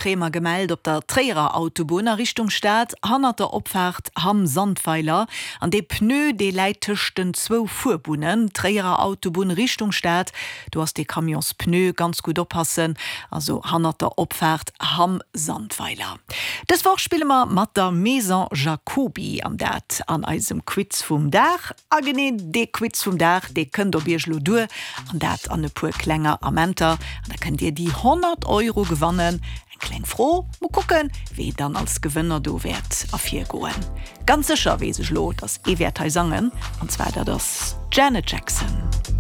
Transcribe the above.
Kréie mer gemellt op der Tréierer Autobunn a Richtung Stad, hannert der Opfaart Hamm-Sandweiler. An dee Pneu, dee läit tëscht den zwou Fuerbunnen. Tréierer Autobunn Richtung Stad, do ass dee Camionspneu. Ganz gutt oppassen, also hannert der Opfaart Hamm-Sandweiler. Dës Woch spille mer mat der Maison Jacoby, an dat an eisem Quiz vum Dag. A genee dee Quiz vum Dag, dee kënnt op iech elo duer, an dat an e puer klenger Amenter. An da kënnt dir déi 100 Euro gewannen. Eng kleng Fro, mol kucken, wee dann als Gewënner do wäert ervirgoen. Ganz sécher weess ech elo, dass ee wäert hei sangen, an zwar dat ass d'Janet Jackson.